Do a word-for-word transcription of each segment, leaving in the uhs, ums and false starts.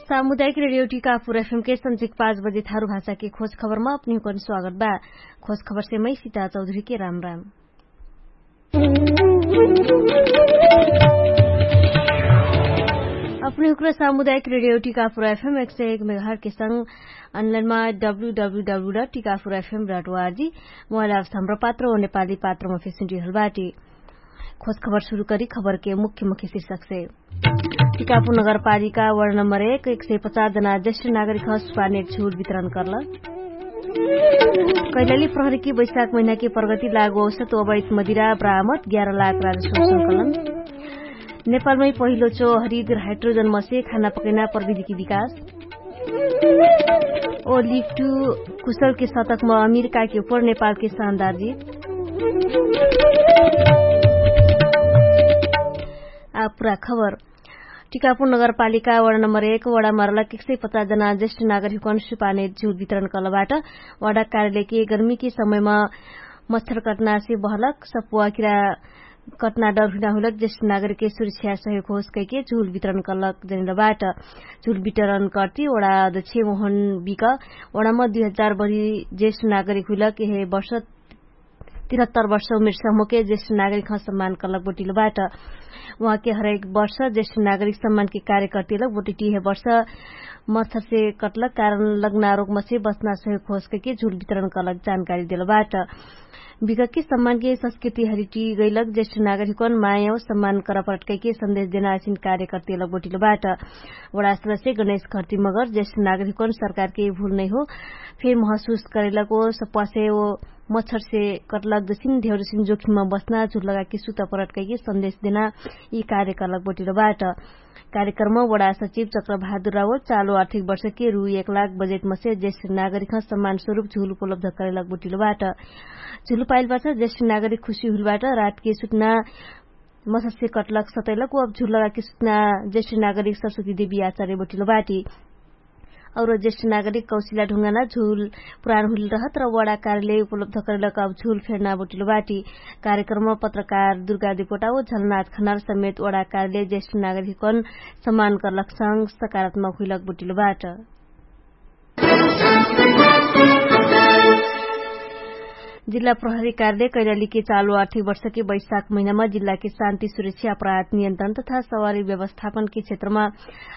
सामुदायिक रेडियो टिकापुर एफएम के सन्झिक पाँच बजे थारु भाषा के खोज खबरमा अपनिहुकन स्वागत बा। खोज खबर से मै सिता चौधरी के राम राम। अपनिहुक्र सामुदायिक रेडियो टिकापुर एफएम एक सय एक मेघाट के संग अनलाइनमा W W W dot Tikapur FM dot O R G mobile apps Hamro Patro वा नेपाली पात्रमा फेसुन्टी हलबाटी। खोज खबर सुरु करी खबर के मुख्य मुख्य शीर्षक से। टिकापुर नगरपालिका वर्ण नम्बर एक एक सय पचास जना ज्येष्ठ नागरिक हस पाने झुल वितरण कर्ल। कैलाली प्रहरी की बैशाख महिना की प्रगति लागु औसत अवैत मदिरा बरामद ग्यारह लाख राजस्व संकलन। नेपालमै पहिलो चो हरित हाइड्रोजन मसे खाना पकैना प्रविधि की विकास। ओ लिक्टु कुशल के शतक म अमेरिका के उपर नेपाल के शानदार जीत। आ पुरा खबर। टिकापुर नगरपालिका वडा नम्बर एक वडा मरलक एक सय पचास जना ज्येष्ठ नागरिकन सुपाने झुल वितरण कलबाट। वडा कार्यालय के गर्मी के समय म मच्छर कटना से बहलक सपुवा किरा कटना डर हुइना हुइलक ज्येष्ठ नागरिक के सुरक्षा सहयोग होस कैके झुल वितरण कलक जनिलबाट। झुल वितरण कर्ति वडा अध्यक्ष मोहन बिक वडा म दुई हजार बरी ज्येष्ठ नागरिक हुइलक यहे वर्ष तिरहत्तर वर्ष उमेर समूह के ज्येष्ठ नागरिक ह सम्मान कलक बोटिलबाट। उहाँ के हरेक वर्ष ज्येष्ठ नागरिक सम्मान के कार्यकर्तिलक बोटिटी यहे वर्ष मच्छर से कटलक कारण लग्ना रोग मसे बच्ना सहयोग होस कैके झुल वितरण कलक जानकारी देलबाट। विगत के सम्मान के संस्कृति हरिटी गैलक ज्येष्ठ नागरिकन माया सम्मान करपरट कैके सन्देश देना असिन कार्यकर्तिलक बोटिलबाट। वडा सदस्य गणेश खर्ति मगर ज्येष्ठ नागरिकन सरकार के भुल नै हो। फेर महसुस करेलक ओ सप्वासे ओ मच्छर से कटलक जसिन धेउरसिन जोखिम बच्ना झुल लगाके सुत परट कैके सन्देश देना यि कार्यकलक बोटिलबाट। कार्यक्रम वडा सचिव चक्रबहादुर रावल चालो आर्थिक वर्ष के रु एक लाख बजेट मसे ज्येष्ठ नागरिक सम्मान स्वरूप झुल उपलब्ध करेलक बोटिलबाट। झुल पाइलबाट ज्येष्ठ नागरिक खुशी हुइलबाट रात के सुतना मससे कटलक सतैलक व अब झुल लगाके सुतना ज्येष्ठ नागरिक सरस्वती देवी आचार्य बोटिलबाट। और ज्येष्ठ नागरिक कौशिला ढुङ्गाना झुल पुरान हुइल रहत र वडा कार्यालय उपलब्ध करेलक अब झुल फेर्ना बोटिलबाट। कार्यक्रम पत्रकार दुर्गा देवकोटा व झलनाथ खनाल समेत वडा कार्यालय ज्येष्ठ नागरिकन सम्मान करलक संग सकारात्मक हुइलक बोटिलबाट। जिल्ला प्रहरी कार्यालय कैलाली के चालु आर्थिक वर्ष के बैशाख महिनामा जिल्ला के शान्ति सुरक्षा अपराध नियन्त्रण तथा सवारी व्यवस्थापन के क्षेत्रमा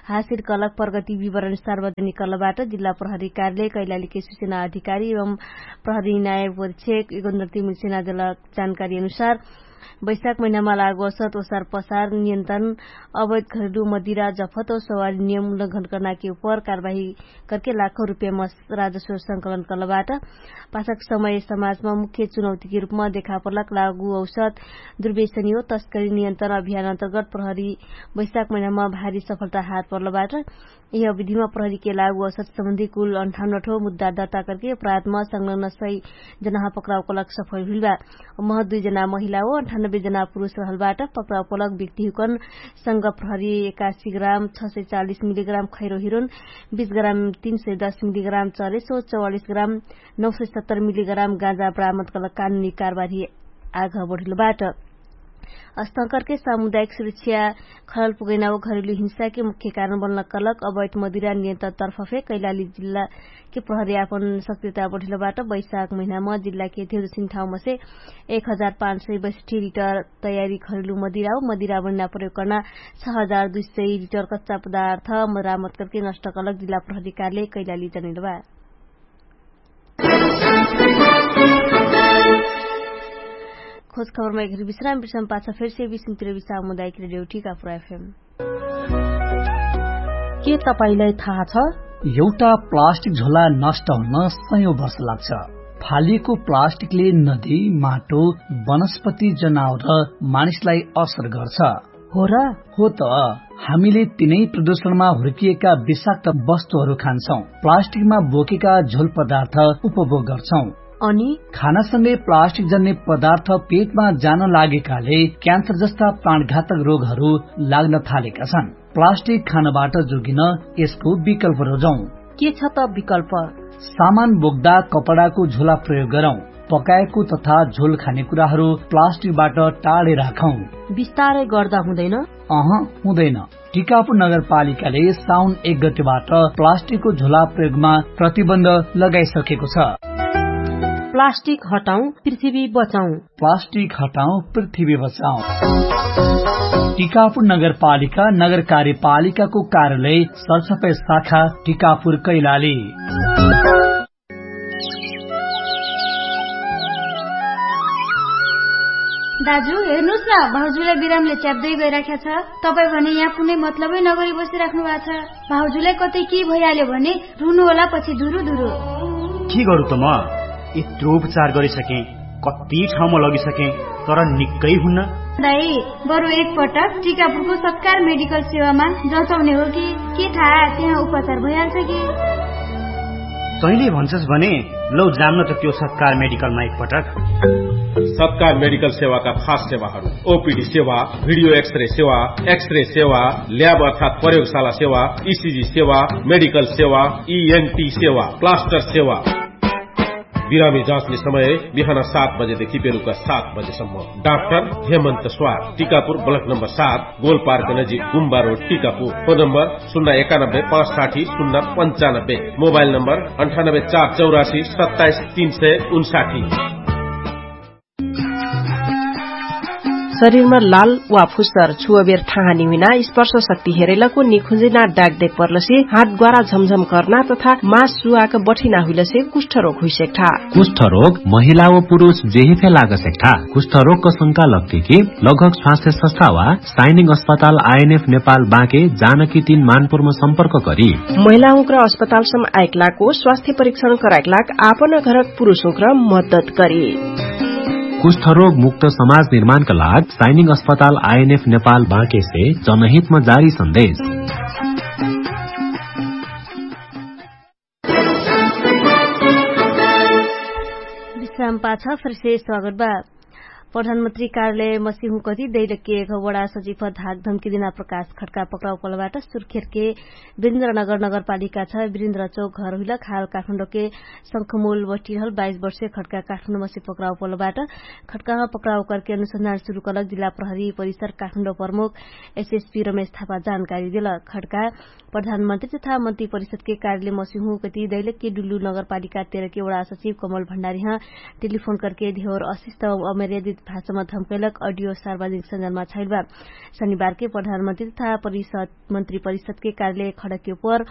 हासिल कलक प्रगति विवरण सार्वजनिक कलबाट। जिल्ला प्रहरी कार्यालय कैलाली के सुचना अधिकारी एवं प्रहरी नायक परीक्षक एगोन्द्रती मिल्सेना देलक जानकारी अनुसार बैशाख महिनामा लागु असत ओसार पसार नियन्त्रण अवैध घरेलु मदिरा जफत और सवारी नियम उल्लंघन करना के उपर कारवाही करके लाखौं रुपया मस राजस्व संकलन कलबाट। पाछक समय समाजमा मुख्य चुनौती के रूपमा देखापलक लागु औसत दुर्वेशनी हो तस्करी नियन्त्रण अभियान अन्तर्गत प्रहरी बैशाख महिनामा भारी सफलता हात पर्लबाट। यि अविधिमा प्रहरी के लागु औसत सम्बन्धी कुल अन्ठाउन्नठो मुद्दा दर्ता करके अपराधमा संलग्न सही जनाह पक्राउ कलक सफल हुइलबा। महत दुई जना महिला हो अन्ठानब्बे जना पुरुष रहलबाट पक्राउ कलक व्यक्तिहुकन संग प्रहरी एकासी ग्राम छ सय चालिस मिलिग्राम खैरो हिरोन बिस ग्राम तीन सय दस मिलिग्राम चरेस हो चौवालिस ग्राम नौ सय सत्तर मिलिग्राम गाँजा बरामद कलक कानुनी कारवाही आघ बढिलबाट। अस्तंकरके सामुदायिक सुरक्षा खलल पुगैना व घरेलु हिंसाके मुख्य कारण बन्लक कलक अवैध मदिरा नियन्त्रण तर्फफे कैलाली जिल्लाके प्रहरी आपन सक्रियता बढिलबाट बैशाख महिनाम जिल्लाके धेरु सिन्ठाउमसे एक हजार पाँच सय बैसठी लिटर तयारी घरेलु मदिरा व मदिरा बनिना प्रयोग कर्ना छ हजार दुई सय लिटर कच्चा पदार्थ मरामत करके नष्ट कलक जिल्ला प्रहरी कार्यालय कैलाली जनिलबा। खोज खबरमा एघरी विश्राम विश्राम पाछा फेरसे विश्रामतिर विश्राम मुदायक रेडियो टिकापुर एफएम। के तपाईंलाई थाहा छ? एउटा प्लास्टिक झोला नष्ट हुन सयौं वर्ष लाग्छ। फालिएको प्लास्टिकले नदी, माटो, वनस्पति, जनावर र मानिसलाई असर गर्छ। हो र? हो त। हामीले तिनै प्रदूषणमा हुर्किएका विषाक्त वस्तुहरू खान्छौं, प्लास्टिकमा बोकेका झोल पदार्थ उपभोग गर्छौं। अनि खानासँगै प्लास्टिक जन्ने पदार्थ पेटमा जान लागेकाले क्यान्सर जस्ता प्राणघातक रोगहरू लाग्न थालेका छन्। प्लास्टिक खानबाट जोगिन यसको विकल्प रोजौं। के छ त विकल्प? सामान बोक्दा कपडाको झोला प्रयोग गरौं। पकाएको तथा झोल खाने कुराहरू प्लास्टिकबाट टाढे राखौं। बिस्तारै गर्दा हुँदैन? अह, हुँदैन। टिकापुर नगरपालिकाले साउन एक गतिबाट प्लास्टिकको झोला प्रयोगमा प्रतिबन्ध लगाइसकेको छ। प्लास्टिक हटाउँ, पृथ्वी बचाउँ। प्लास्टिक हटाउँ, पृथ्वी बचाउँ। टिकापुर नगरपालिका नगरकार्यपालिकाको कार्यालय सरसफाइ शाखा टिकापुर कैलाली। दाजु, हेर्नुस् न, भाउजूलाई बिरामले च्याप्दै गइराख्या छ। तपाईँ भने यहाँ कुनै मतलबै नगरी बसिराख्नु भएको छ। भाउजूलाई कतै के भइहाल्यो भने रुनु होला पछि धुरु धुरु। के गरौँ त म? यत्रो उपचार गरिसकेँ, कति ठाउँमा लगिसकेँ, तर निक्कै हुन्न। दाइ, बरु एकपटक टिकापुरको सत्कार मेडिकल सेवामा जचाउने हो कि के थाहा, त्यहाँ उपचार भइहाल्छ कि। तैँले भन्छस् भने लौ जाम्न त त्यो सत्कार मेडिकलमा एकपटक। सत्कार मेडिकल सेवाका खास सेवाहरू: ओपिडी सेवा, भिडियो एक्सरे सेवा, एक्सरे सेवा, ल्याब अर्थात् प्रयोगशाला सेवा, इसिजी सेवा, मेडिकल सेवा, इएनटी सेवा, प्लास्टर सेवा। बिरामी जाँच्ने समय बिहान सात बजेदेखि बेलुका सात बजेसम्म। डाक्टर हेमन्त स्वार, टिकापुर, ब्लक नम्बर सात, गोलपार्क नजिक, गुम्बा रोड, टिकापुर। फोन नम्बर शून्य एकानब्बे पाँच साठी शून्य पन्चानब्बे। मोबाइल नम्बर अन्ठानब्बे चार चौरासी सत्ताइस तीन सय उन्साठी। शरीरमा लाल वा फुस्सर छुवबेर ठाहानी हुइना स्पर्श शक्ति हेरैलको निखुजिना डाक देख पर्लसे हात ग्वारा झमझम कर्ना तथा मास सुवाक बठिना हुइलसे कुष्ठरोग हुइसेक्ठा। कुष्ठरोग महिला व पुरुष जेहे फे लागसेक ठा। कुष्ठरोगक शंका लग्ते कि लगभग स्वास्थ्य संस्था वा साइनिङ अस्पताल आइएनएफ नेपाल बाँके जानकी तीन मानपुरमा सम्पर्क करी। महिलाहुँक्र अस्पतालसम आइक लाको स्वास्थ्य परीक्षण कराइक लाग आपन घरक पुरुषहुँक्र मद्दत करी। कुष्ठरोग मुक्त समाज निर्माणक लाग साइनिङ अस्पताल आइएनएफ नेपाल बाँकेसे जनहितमा जारी सन्देश। विश्राम पाछ फर्से स्वागत बा। प्रधानमन्त्री कार्यालय मसिहुँ कति दैलके एक वडा सचिव धाक धम्की दिना प्रकाश खड्का पक्राउ पलबाट सुर्खेरके बिरिन्द्रनगर नगरपालिका छ बिरिन्द्र चौक घर हुइलक हाल काठमाडौँके शंखमूल बटिरहल बाइस वर्षे खड्का काठमाडौँ मसे पक्राउ पलबाट खड्का पक्राउ करके अनुसन्धान सुरु कलक जिल्ला प्रहरी परिसर काठमाडौँ प्रमुख एसएसपी रमेश थापा जानकारी देलक। खड्का प्रधानमन्त्री तथा मन्त्री परिषदके कार्यालय मसिहुँ कति दैलके डुल्लु नगरपालिका तेरके वडा सचिव कमल भण्डारीह टेलिफोन करके धेवर अशिष्ट अमर्यादित भाषामा धम्कैलक अडियो सार्वजनिक सञ्जालमा छाइलबा। शनिबारके प्रधानमन्त्री तथा परिषद मन्त्री परिषदके कार्यालय खडके उपर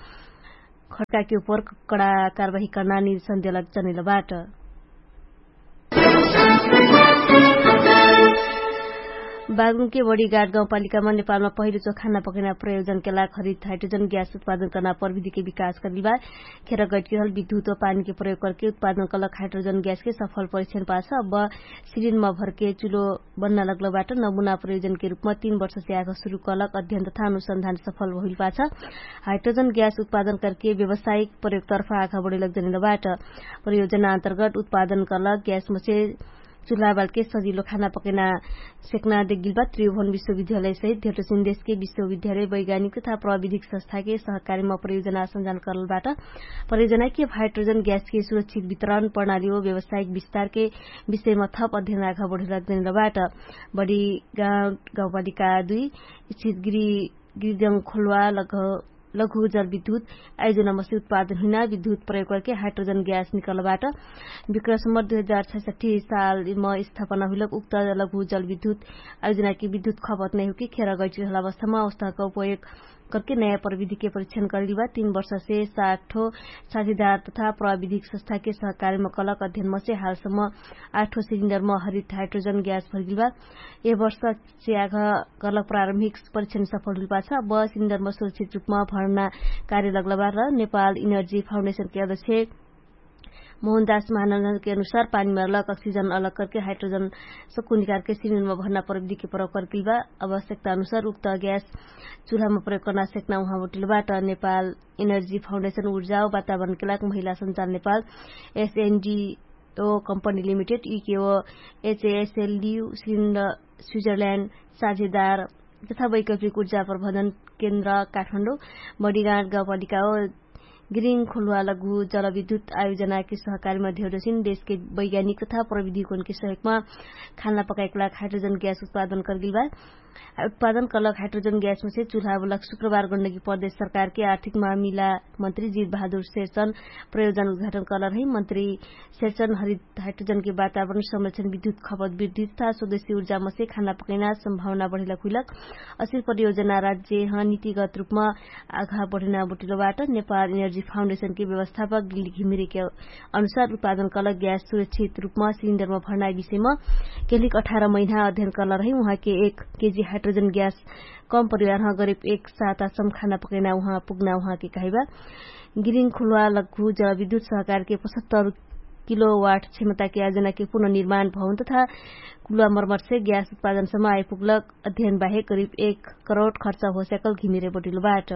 खड्काके उपर कडा कारवाही कर्ना निर्देशन देलक जनैलबाट। बागलुङके बडीगाड गाउँपालिकामा नेपालमा पहिलो चोखाना पकैना प्रयोजनके लाग हरित हाइड्रोजन ग्यास उत्पादन कर्ना प्रविधिके विकास करिलबा। खेर गैटकिरहल विद्युत व पानीके प्रयोग करके उत्पादन कलक हाइड्रोजन ग्यासके सफल परीक्षण पाछ अब सिलिनमा भरके चुलो बन्ना लग्लबाट नमुना प्रयोजनके रूपमा तीन वर्षसे आग सुरु कलक अध्ययन तथा अनुसन्धान सफल भइल पाछ हाइड्रोजन ग्यास उत्पादन करके व्यवसायिक प्रयोगतर्फ आग बढेलक जनैलबाट। प्रयोजना अन्तर्गत उत्पादन कलक ग्यासमसे चुल्हाबालके सजिलो खाना पकैना सेक्ना देगिलबा त्रिभुवन विश्वविद्यालय सहित धेटोसिन देशके विश्वविद्यालय वैज्ञानिक तथा प्रविधिक संस्थाके सहकारीमा प्रयोजना सञ्जान करलबाट। प्रयोजनाके हाइड्रोजन ग्यासके सुरक्षित वितरण प्रणाली हो व्यवसायिक विस्तारके विषयमा थप अध्ययन आघा बढेलक जनैलबाट। बढी गाउँपालिका दुई स्थित गिरी गिरिजङ खोलवा लघु जलविद्युत आयोजनामसे उत्पादन हुइना विद्युत प्रयोग करके हाइड्रोजन ग्यास निकलबाट विक्रसम्बर दुई हजार छैसठी सालम स्थापना हुइलक उक्त लघु जलविद्युत आयोजनाके विद्युत खपत नैहुके खेर गैटिरहल अवस्थामा अवस्थाका उपयोग करके नयाँ प्रविधिके परीक्षण करिलबा। तीन वर्षसे साठो साझेदार तथा प्रविधिक संस्थाके सहकारीमा कलक अध्ययनमसे हालसम्म आठो सिलिन्डरमा हरित हाइड्रोजन ग्यास भरिलबा। यह वर्ष च्याघ गलक प्रारम्भिक परीक्षण सफल हुइलपाछ बस इन्धनमा सुरक्षित रूपमा भर्ना कार्य लग्लबा र नेपाल इनर्जी फाउन्डेसनके अध्यक्ष मोहन दास महानन्दके अनुसार पानीमा लक अक्सिजन अलग करके हाइड्रोजन सक्कु निकारके सिलिन्डरमा भर्ना प्रविधिके प्रयोग करकिलबा। आवश्यकता अनुसार उक्त ग्यास चुल्हामा प्रयोग कर्ना सेक्ना उहाँ उटिलबाट नेपाल इनर्जी फाउन्डेसन उर्जा वातावरणके लाग महिला सञ्चाल नेपाल एसएनडी ओ कम्पनी लिमिटेड इकेओ एचएएसएलडी स्विन्ड स्विजरल्याण्ड साझेदार तथा वैकल्पिक उर्जा प्रबन्धन केन्द्र काठमाडौँ बडिगाँड गाउँपालिका ओ ग्रिङ खोलुवा लघु जलविद्युत आयोजनाके सहकारीमा धेउडसिन देशके वैज्ञानिक तथा प्रविधिकोनके सहयोगमा खाना पकाइकुला हाइड्रोजन ग्यास उत्पादन करगिलबा। उत्पादन कलक हाइड्रोजन ग्यासमा से चुल्हा बोलक शुक्रबार गण्डकी प्रदेश सरकारके आर्थिक मामिला मन्त्री जित बहादुर सेर्चन प्रयोजन उद्घाटन कलर है। मन्त्री सेर्चन हरित हाइड्रोजनके वातावरण संरक्षण विद्युत खपत वृद्धि तथा स्वदेशी ऊर्जामा से खाना पकैना सम्भावना बढेला खुइलक असिर प्रयोजना राज्य ह नीतिगत रूपमा आघा बढेना बोटिलो बाट नेपाल एनर्जी फाउन्डेशनके व्यवस्थापक गिल्ली घिमिरेके अनुसार उत्पादन कलक ग्यास सुरक्षित रूपमा सिलिन्डरमा भर्ना विषयमा केलिक अठार महिना अध्ययन कलर है। उहाँके एक केजी हाइड्रोजन ग्यास कम परिवारह गरिब एक सातासम खाना पकैना उहाँ पुग्ना उहाँके कहैबा। गिरिङ खुल्वा लग्गु जलविद्युत सहकारके पचहत्तर किलोवाट क्षमताके आयोजनाके पुनर्निर्माण भवन तथा कुल्वा मर्मरसे ग्यास उत्पादनसम आइपुग्लक अध्ययन बाहेक गरिब एक करोड खर्च होस्याकल घिमिरे बटिलो बाट।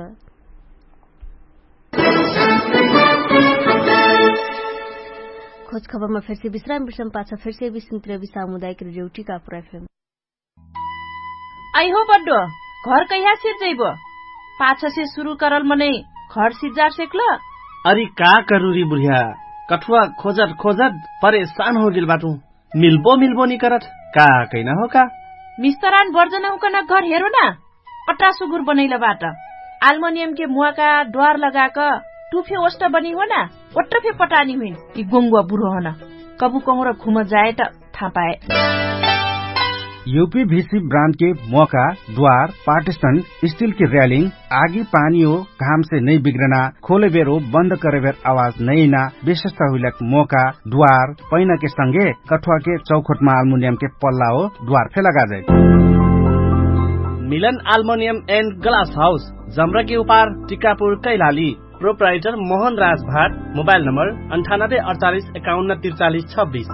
खोज खबरमा फेरसे विश्राम विश्राम पाछ फेरसे विश्राम तिर विश्राम उदायक रेडियो टिका पुरा फेम। आइहो बड्डो, घर कैहा सिर्जैबो? पाछसे सुरु करल मनै घर सिर्जार सेक्ल? अरि का करुरी बुढिया, कठुवा खोजत खोजत परेशान होगेल बाटु। मिल्बो मिल्बो निकरत का कैना हो का? मिस्तरान बर्जन हुकन घर हेरो ना। अट्टा सुगुर बनैल बाट। आल्मोनियमके मुवाका द्वार लगाक टुफे ओष्ट बनी हो ना। ओट्ट फे पटानी हुइन। यि गोङ्गुवा बुढो हन। कबु कहुँर घुम जाए त थापाए। युपी भिसी ब्रान्डके मोका द्वार पार्टिस्टन स्टिलके र्यालिङ आगी पानी हो घामसे नै बिग्रना खोलेबेर हो बन्द करेबेर आवाज नैना विशेषता हुइलक मोका द्वार पैनाके संगे कठुवाके चौखोटमा आल्मुनियमके पल्ला हो द्वार फे लगाजै। मिलन आल्मुनियम एन्ड ग्लास हाउस जम्रके उपार टिकापुर कैलाली। प्रोप्राइटर मोहन राजभाट। मोबाइल नम्बर अन्ठानब्बे अडचालिस एकाउन्न तिरचालिस छब्बिस।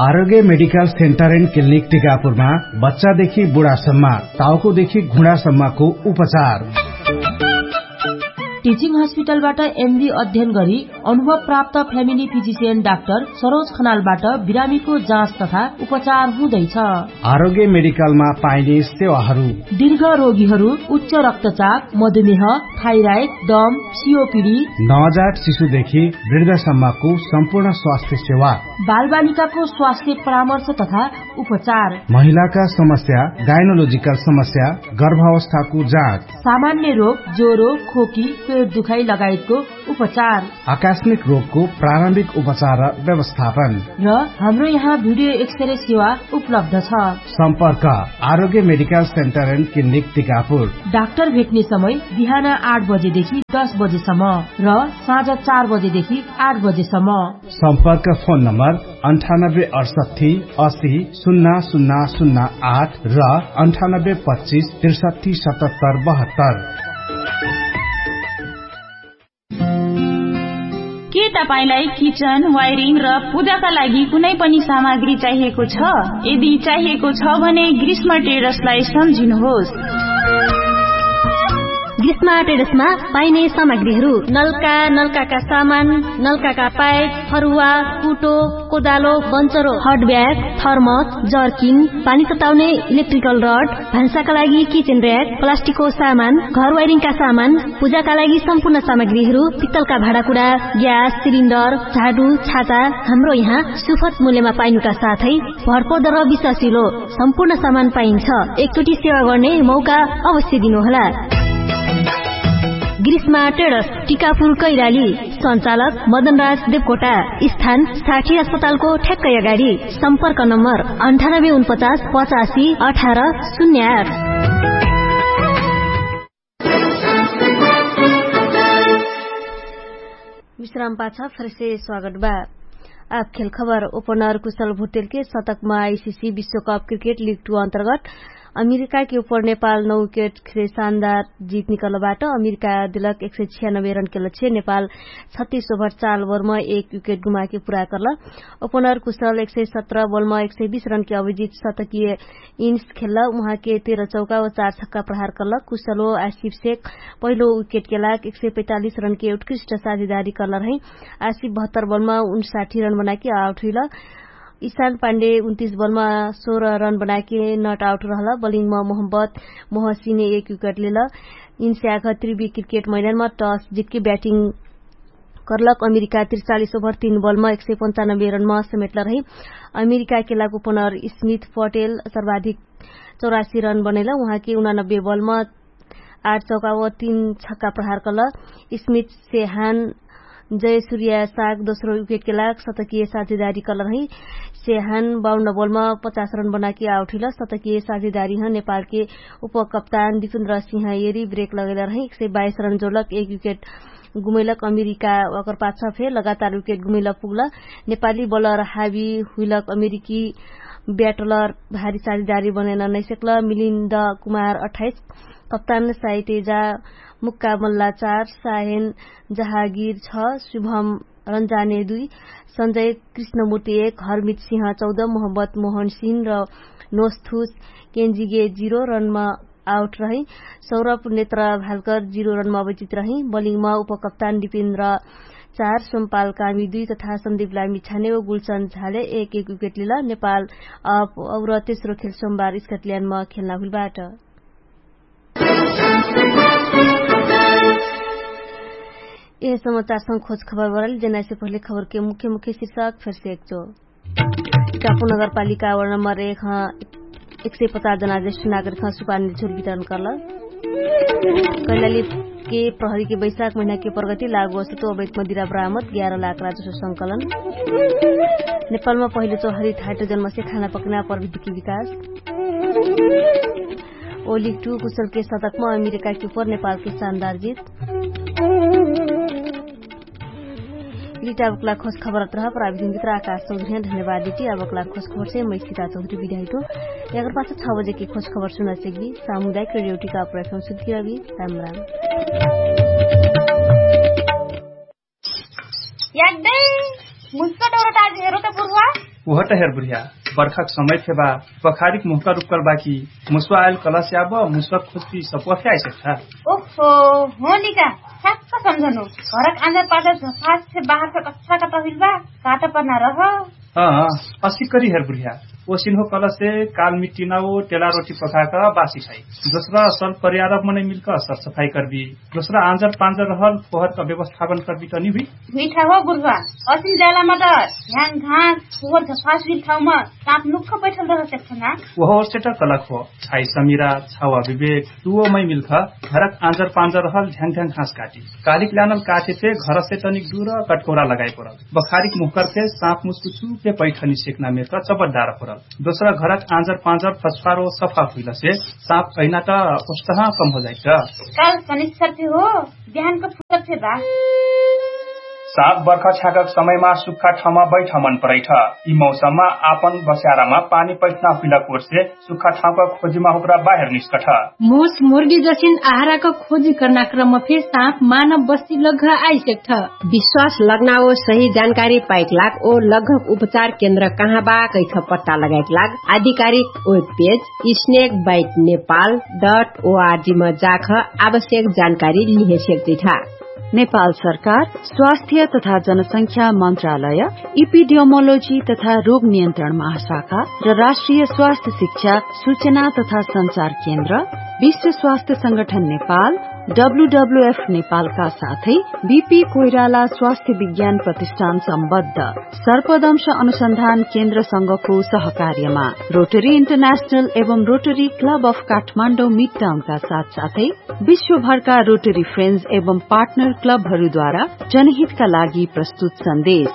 आरोग्य मेडिकल सेन्टर एन्ड क्लिनिक टिकापुरमा बच्चादेखि बुढासम्म, टाउकोदेखि घुँडासम्मको उपचार। टिचिङ हस्पिटलबाट एमडी अध्ययन गरी अनुभव प्राप्त फ्यामिली फिजिसियन डाक्टर सरोज खनालबाट बिरामीको जाँच तथा उपचार हुँदैछ। आरोग्य मेडिकलमा पाइने सेवाहरू। दीर्घ रोगीहरू उच्च रक्तचाप, मधुमेह, थाइराइड, दम, सिओपिडी, नवजात शिशुदेखि वृद्धसम्मको सम्पूर्ण स्वास्थ्य सेवा। बालबालिकाको स्वास्थ्य परामर्श तथा उपचार। महिलाका समस्या, गाइनोलोजिकल समस्या, गर्भावस्थाको जाँच। सामान्य रोग, ज्वरो, खोकी, पेट दुखाइ लगायतको उपचार। आकस्मिक रोगको प्रारम्भिक उपचार र व्यवस्थापन। र हाम्रो यहाँ भिडियो एक्सरे सेवा उपलब्ध छ। सम्पर्क Arogya medical centre and clinic Tikapur. Doctor भेट्ने समय बिहान आठ बजेदेखि दस बजेसम्म र साँझ चार बजेदेखि आठ बजेसम्म। सम्पर्क फोन नम्बर अन्ठानब्बे अडसट्ठी असी सुन्ना सुन्ना सुन्ना आठ र अन्ठानब्बे पच्चिस त्रिसट्ठी सतहत्तर बहत्तर। के तपाईंलाई किचन वायरिङ र पूजाका लागि कुनै पनि सामग्री चाहिएको छ? यदि चाहिएको छ भने ग्रीष्म ट्रेडर्सलाई सम्झिनुहोस्। ग्रीष्म ट्रेडर्समा पाइने सामग्रीहरू नलका, नलकाका सामान, नलकाका पाइप, फरुवा, कुटो, कोदालो, बन्चरो, हट ब्याग, थर्मस, जर्किन, पानी तताउने इलेक्ट्रिकल रड, भान्साका लागि किचन र्‍याक, प्लास्टिकको सामान, घर वायरिङका सामान, पूजाका लागि सम्पूर्ण सामग्रीहरू, पित्तलका भाँडाकुँडा, ग्यास सिलिन्डर, झाडु, छाता, हाम्रो यहाँ सुपथ मूल्यमा पाइनुका साथै भरपर्दो र विश्वासिलो सम्पूर्ण सामान पाइन्छ। एकचोटि सेवा गर्ने मौका अवश्य दिनुहोला। ग्रीष्मा ट्रेडर्स, टिकापुर कैलाली। सञ्चालक मदनराज देवकोटा। स्थान साठी अस्पतालको ठ्याक्कै अगाडि। सम्पर्क नम्बर अन्ठानब्बे उनपचास पचासी अठार शून्य आठ। विश्राम पाछ फेरसे स्वागत बा। आप खेल खबर। ओपनर कुशल भुटेलके शतकमा आइसिसी विश्वकप क्रिकेट लिग टू अन्तर्गत अमेरिकाके उपर नेपाल नौ विकेट खेले शानदार जित निकलबाट अमेरिका दिलक एक सय छियानब्बे रनके लक्ष्य नेपाल छत्तीस ओभर चाल ओभरमा एक विकेट गुमाके पुरा करल। ओपनर कुशल एक सय सत्र बलमा एक सय बीस रनके अभिजित शतकीय इन्स खेल्ल। उहाँके तेह्र चौका व चार छक्का प्रहार करल। कुशल व आसिफ सेक पहिलो विकेटके लाग एक सय पैतालिस रनके उत्कृष्ट साझेदारी करल रहै। आसिफ बहत्तर बलमा उनसाठी रन बनाके आउट हुइल। इशान पाण्डे उन्तीस बलमा सोह्र रन बनाके नट आउट रहल। बलिङमा मोहम्मद मोहसिने एक विकेट लेल। इन्स्याख त्रिवी क्रिकेट मैदानमा टस जितके ब्याटिङ करलक। अमेरिका त्रिचालिस ओभर तीन बलमा एक सय पन्चानब्बे रनमा समेटल रही। अमेरिकाके लागु पनर स्मिथ पटेल सर्वाधिक चौरासी रन बनैल। उहाँके उनानब्बे बलम आठ चौका व तीन छक्का प्रहार कल। स्मिथ सेहान जय सुर्या साग दोस्रो विकेटके लाग सतकिय साझेदारी कल रही। सेहान बाउन्न बलम पचास रन बनाके आउट हुइल। सतकिय साझेदारी ह नेपालके उपकप्तान दिपेन्द्र सिंह एरी ब्रेक लगैल रही एक सय बाइस रन जोलक एक विकेट गुमैलक अमेरिका ओकर पाछ फे लगातार विकेट गुमैल पुगल। नेपाली बलर हावी हुइलक अमेरिकी ब्याटलर भारी साझेदारी बनैन नैसेक्ल। मिलिन्द कुमार अठाइस, कप्तान साइटेजा मुक्का मल्ला चार, साहेन जहागिर छ, शुभम रन्जाने दुई, सञ्जय कृष्णमूर्ति एक, हरमित सिंह चौध, मोहम्मद मोहन सिंह र नोस्थुस केन्जिगे जिरो रनमा आउट रही। सौरभ नेत्र भालकर जिरो रनमा अवचित रही। बलिङमा उपकप्तान दिपेन्द्र चार, सोमपाल कामी दुई तथा सन्दीप लामी छाने व गुलचन्द झाले एक एक विकेट लिल। नेपाल अब और तेस्रो खेल सोमबार स्कटल्यान्डमा खेल्ना हुइलबाट। यह समाचारसँग खोज खबर बरल जेनाइसे पहिले खबरके मुख्य मुख्य शिर्षक फेरसे एकचो। कापु नगरपालिका वर्ण नम्बर एक ह एक सय पचास जना ज्येष्ठ नागरिक ह सुपानी झुर वितरण करल। कैलाली के प्रहरी के बैशाख महिना के प्रगति लागु असुतो अवैत मदिरा बरामद ग्यारह लाख राजस्व संकलन। नेपालमा पहिलो चौहरी थाइटो जन्मसे खाना पकना प्रविधिकी विकास। ओलिक टु कुशल के सतकमा अमेरिका के उपर नेपाल के सानदार जित। लिटा अबकला खोज खबर अत्रह प्राविधिन भित्र आकाश चौधरी ह धन्यवाद लिटी। अबकला खोज खबर से मैसिता चौधरी विधाइटो। यकर पाछ छ बजे के खोज खबर सुना सेगबी सामुदायिक रेडियो टिका प्रयक्ष सुधकी रबी। राम राम। याग्दै मुस्का डौरट आज हेरो त पुर्वा। उहट हेर बुर्ह्या, बर्खाक समय फेबा बखारिक मुहका रुक्कल बाकी मुस्वा आयल कलस्याब मुस्वा खुजकी सप्वा फे आइसक्ठा। ओहो, होनिका, साक्क सम्झनु। घरक आन्जा पाजा झफास फे बाहर फे कच्छा कता हुइल बा। काटा पर्ना रह। असिकरी हेर बुर्ह्या, ओसिन हो कलसे काल मिट्टिना ओ टेला रोटी पखाक बासी खाइ। दोस्रा सल परियारब मनै मिल्क सरसफाइ कर्बी। दोस्रा आन्जर पान्जर रहल फोहरक व्यवस्थापन कर्बी तनि हुइ। हुइठा हो बुर्ह्वा, असिन ज्याला मदर ह्याङ घाँस फोहर झफास हुइल ठाउमा साँप नुक्ख बैठल रह सक्छना। ओहो ओर्सेट कलक हो। छाइ समिरा छावा विवेक, तुवो मै मिल्ख घरक आन्जर पान्जर रहल ढ्याङ ढ्याङ घाँस काटी। कालिक ल्यानल काठे फे घरसे तनिक दुर कटकोरा लगाइ परल। बखारिक मुहकर फे साँप मुस्कु चुपे पैठनी सेक्ना मेर त चबट डार परल। दोस्रा घरक आन्जर पान्जर फस्फारो सफा हुइलसे साँप अइना त ओस्तहा कम हो जाइट। काल सनिश्चर फे हो। बिहानक फुर्सद फे बा। साँप बर्खा छ्याकक समयमा सुक्खा ठाउँमा बैठ मन परैठ। यि मौसममा आपन बस्यारामा पानी पैठना हुइला कोर्से सुक्खा ठाउँका खोजिमा हुक्रा बाहेर निस्कठ। मुस मुर्गी जसिन आहाराक खोजी कर्ना क्रममा फे साँप मानव बस्ती लग्घ आइसेक्ठ। विश्वास लग्ना ओ सही जानकारी पाइक लाग ओ लग्घक उपचार केन्द्र कहाँ बा कैख पट्टा लगाइक लाग आधिकारिक web page snake bite Nepal dot ओआरजी मा जाख आवश्यक जानकारी लिहे सेक्जिठा। नेपाल सरकार स्वास्थ्य तथा जनसंख्या मन्त्रालय, इपिडियोमोलोजी तथा रोग नियन्त्रण महाशाखा र राष्ट्रिय स्वास्थ्य शिक्षा सूचना तथा सञ्चार केन्द्र, विश्व स्वास्थ्य संगठन नेपाल, डब्ल्युडब्ल्युएफ नेपालका साथै बिपी कोइराला स्वास्थ्य विज्ञान प्रतिष्ठान सम्बद्ध सर्पदंश अनुसन्धान केन्द्रसँगको सहकार्यमा रोटरी इन्टरनेशनल एवं रोटरी क्लब अफ काठमाडौँ मिडटाउनका साथसाथै विश्वभरका रोटरी फ्रेन्ड्स एवं पार्टनर क्लबहरूद्वारा जनहितका लागि प्रस्तुत सन्देश।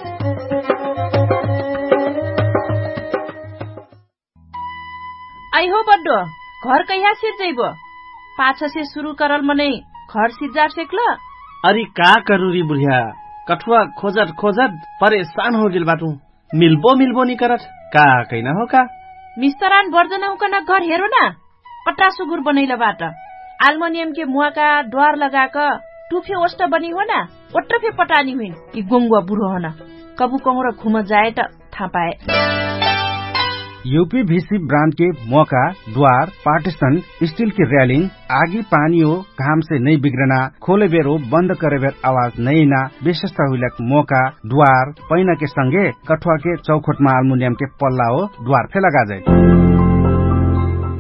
अइहो बड्डो, घर कैहा सिर्जैबो? पाछसे सुरु करल मनै घर सिर्जार सेक्ल? अरि का करुरी बुढिया, कठुवा खोजत खोजत परेशान होगेल बाटु। मिल्बो मिल्बो निकरत का कैना हो का? मिस्तरान बर्जन हुकन घर हेरो ना। पट्टा सुगुर बनैल बाट। आल्मोनियम के मुवाका द्वार लगाक टुफे ओष्ट बनी हो ना। ओट्ट फे पटानी हुइन। यि गोंगुवा बुढो हन। कबु कहुँर घुम जाए त थापाए। युपी भिसी ब्रान्ड के मोका द्वार पार्टिसन स्टिल के र्यालिङ आगी पानी हो घाम से नै बिग्रना खोले बेर हो बन्द करे बेर आवाज नै ना। विशेषता हुइलक मोका द्वार पैना के संगे कठुवा के चौखोट मा आल्मुनियम के पल्ला हो द्वार फे लगा जाए।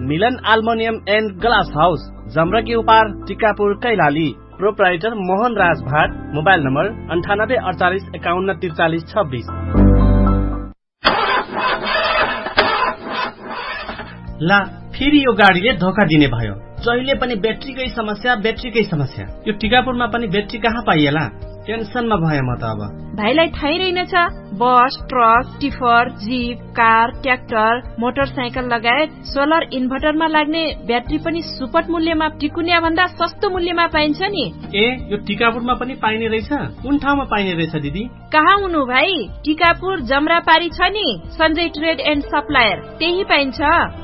मिलन आल्मुनियम एन्ड ग्लास हाउस जमरा के उपार टिकापुर कैलाली। प्रोप्राइटर मोहन राज भाट। मोबाइल नम्बर अन्ठानब्बे अडचालिस एकाउन्न तिरचालिस छब्बिस। ला, फेरि यो गाडीले धोका दिने भयो। जहिले पनि ब्याट्रीकै समस्या, ब्याट्रीकै समस्या। यो टिकापुरमा पनि ब्याट्री कहाँ पाइएला? टेन्सनमा भए म त अब। भाइलाई थाहै रहेनछ, बस, truck, tipper, zip, car, tractor, motorcycle लगायत सोलर इन्भर्टरमा लाग्ने ब्याट्री पनि सुपट मूल्यमा टिकुन्या भन्दा सस्तो मूल्यमा पाइन्छ नि। ए, यो टिकापुरमा पनि पाइने रहेछ? कुन ठाउँमा पाइने रहेछ दिदी? कहाँ हुनु भाइ? टिकापुर जमरापारी छ नि, सञ्जय ट्रेड एन्ड सप्लायर, त्यही पाइन्छ।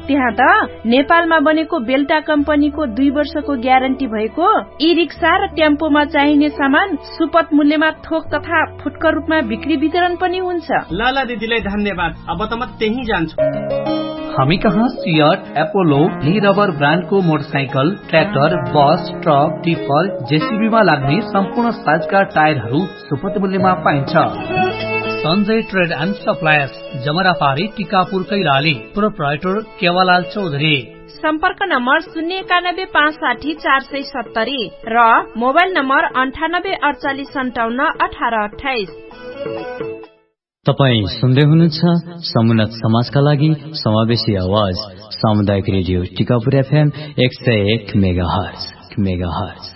त्यहाँ त नेपालमा बनेको बेल्टा कम्पनीको दुई वर्षको ग्यारेन्टी भएको ई रिक्सा र टेम्पोमा चाहिने सामान सुपथ मूल्यमा थोक तथा फुटकर रूपमा बिक्री वितरण पनि हुन्छ। लाला दिदीलाई धन्यवाद। अब त म त्यही जान्छु। हामी कहाँ सियट एपोलो ली रबर ब्रान्डको मोटरसाइकल, ट्र्याक्टर, बस, ट्रक, टिफर, जेसिबीमा लाग्ने सम्पूर्ण साइजका टायरहरू सुपथ मूल्यमा पाइन्छ। सञ्जय ट्रेड एन्ड सप्लायर्स, जमरापारी, टिकापुर, कैलाली। प्रोप्राइटर केवालाल चौधरी। सम्पर्क नम्बर शून्य एकानब्बे पाँच साठी चार सय सत्तरी र मोबाइल नम्बर अन्ठानब्बे अडचालिस सन्ताउन्न अठार अठाइस। तपाईँ सुन्दै हुनुहुन्छ समुन्नत समाजका लागि समावेशी आवाज, सामुदायिक रेडियो टिकापुर एफएम एक सय एक मेगाहर्ज।